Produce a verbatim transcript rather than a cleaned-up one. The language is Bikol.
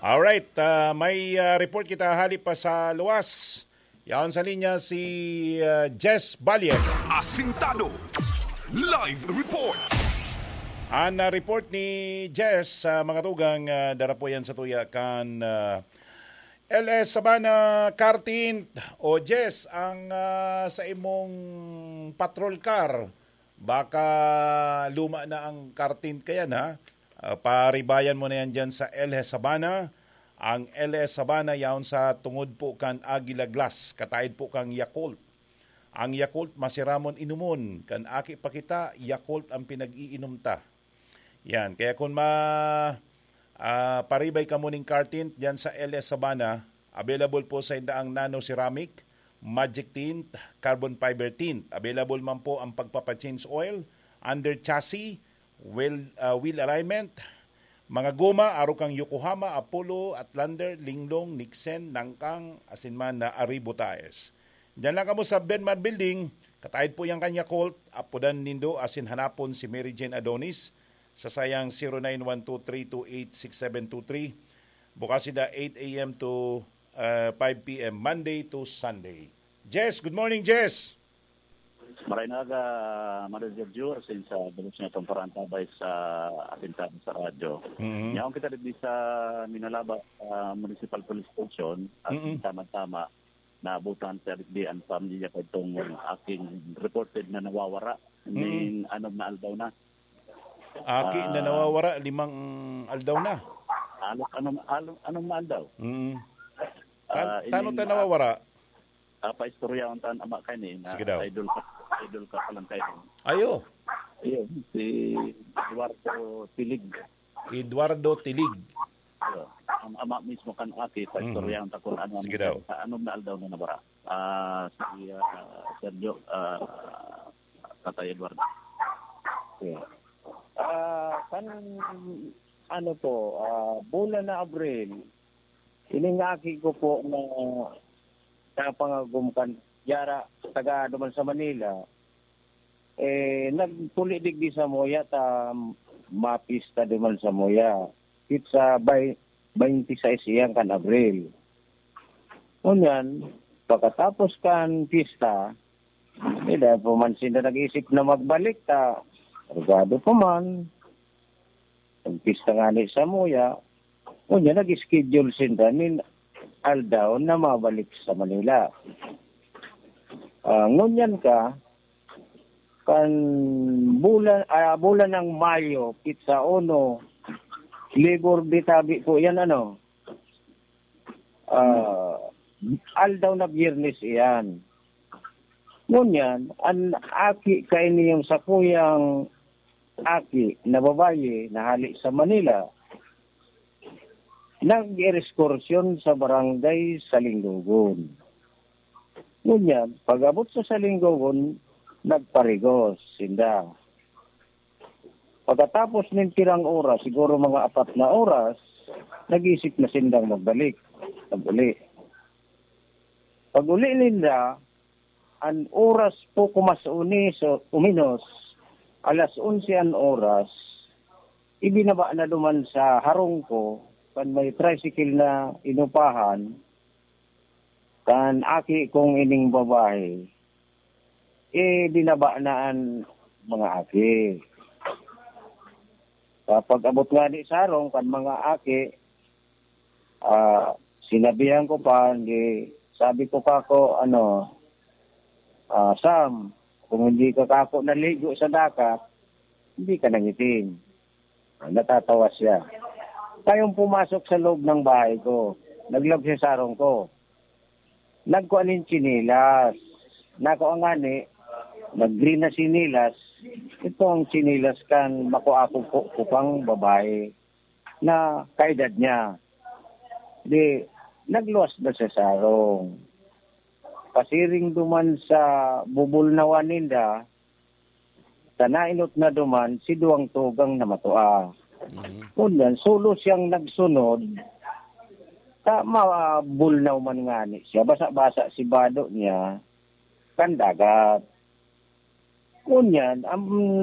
Alright, ah, may, ah, report kita hali pa sa luwas. Yaon sa linya si, ah, Jess Balier. Asintado. Live report. Ang, ah, report ni Jess, ah, mga tugang, ah, dara po yan sa tuya kan, ah, L S Sabana Car Tint. O Jess, ang, ah, sa imong patrol car, baka luma na ang car tint kayan, ha? Ah, paribayan mo na yan dyan sa L S Sabana. Ang L S Sabana yaon sa tungod po kan Aguila Glass, kataid po kan Yakult. Ang Yakult masiramon inomon, kan aki pa kita, Yakult ang pinag-iinom ta. Yan, kaya kung ma-, ah, paribay kamo ning car tint dyan sa L S Sabana, available po sa inda ang Nano Ceramic, Magic Tint, Carbon Fiber Tint. Available man po ang pagpapa-change oil, under chassis, wheel, ah, wheel alignment, mga goma, arog kan Yokohama, Apollo, Outlander, Linglong, Nixon, Nangkang, asin man na Arribo Tires. Diyan lang kamo sa Benmar Building, kataid po yan kan Yakult, apodan nindo asin hanapon si Mary Jane Adonis sa sayang zero nine one two three two eight six seven two three. Bukas sila eight a m to, ah, five p m, Monday to Sunday. Jess, good morning, Jess! Maray na aga, Manoy Sergio, asin sa dalos niya itong parantabay sa atin sa, sa radyo. Mhm. Yaon kita digdi sa Minalaba, ah, Municipal Police Station, at Mm-mm. tama-tama, naabutan sa digdi ang pamilya pa itong aking reported na nawawara. Mm. Ning anom na aldaw na. Aki na Ah. nawawara, limang aldaw na. Halos anom, anom, anom na aldaw. Mm. Tan-, Ah, tano ining, ta ah, nawawara? Ah, paistoryahon ta an ama kaini na Sige daw. idol ka, idol ka pa lang kaini. Ayo. Ayun, si Eduardo Tilig. Eduardo Tilig. Ayo. Ang ama mismo kan aki, paistoryahon ta kung ano ang Sige daw. sa anom na aldaw na nabara. Ah, si, ah, Sergio, ah, Tatay Eduardo. Yeah. Ah, kan, ano po, ah, bulan na Abril, ining aki ko po na napangagom kan Yara, taga duman sa Manila, eh, nagpuli digdi sa Moya ta mapista duman sa Moya. It sa bay-, twenty-six iyan kan Abril. Ngunyan, pagkatapos kan pista, eh, dahil pa man sinda nag-isip na magbalik, ta, kargado pa man. Nagpista ngani sa Moya, ngunyan nag-schedule sinda nin aldaw na mabalik sa Manila. Ah, ngunyan ka, kan bulan, ah, bulan ng Mayo, pizza uno, Labor Day tabi po yan, ano? Ah, aldaw na Biyernes iyan. Ngunyan, an aki kaini yung sakuyang aki na babayi na hali sa Manila, nag-ereskursyon sa barangay Salinggogon. Ngunyan, pag-abot sa Salinggogon, nagparigos sinda. Pagkatapos nin pirang oras, siguro mga apat na oras, nag-isip na sindang magbalik, nag-uli. Pag-uli ninda, an oras poko mas unis o uminos, alas onse an oras, ibinaba na duman sa harong ko, kan may tricycle na inupahan, kan aki kong ining babae, eh, binaba na an mga aki. Sa pag-abot ngani sa harong kan mga aki, ah, sinabihan ko pa, di, sabi ko kako, ano, ah, "Sam, kung hindi ka kako naligo sa dagat, hindi ka nangitim." Ah, natatawa siya. Kayong pumasok sa loob ng bahay ko, naglaog siya sa harong ko. Nagkua nin tsinelas. Nako ngani, nag-green na tsinelas. Itong tsinelas kan makuapog ko, ko pang babae na kaedad niya. Di, nagluwas na siya sa harong. Pasiring duman sa bubulnawan ninda, sa nainot na duman, si duwang tugang na matua. Mhm. Ngunyan, solo siyang nagsunod, ta mabulnaw man ngani siya, basa-basa si bado niya, kan dagat. Ngunyan, ang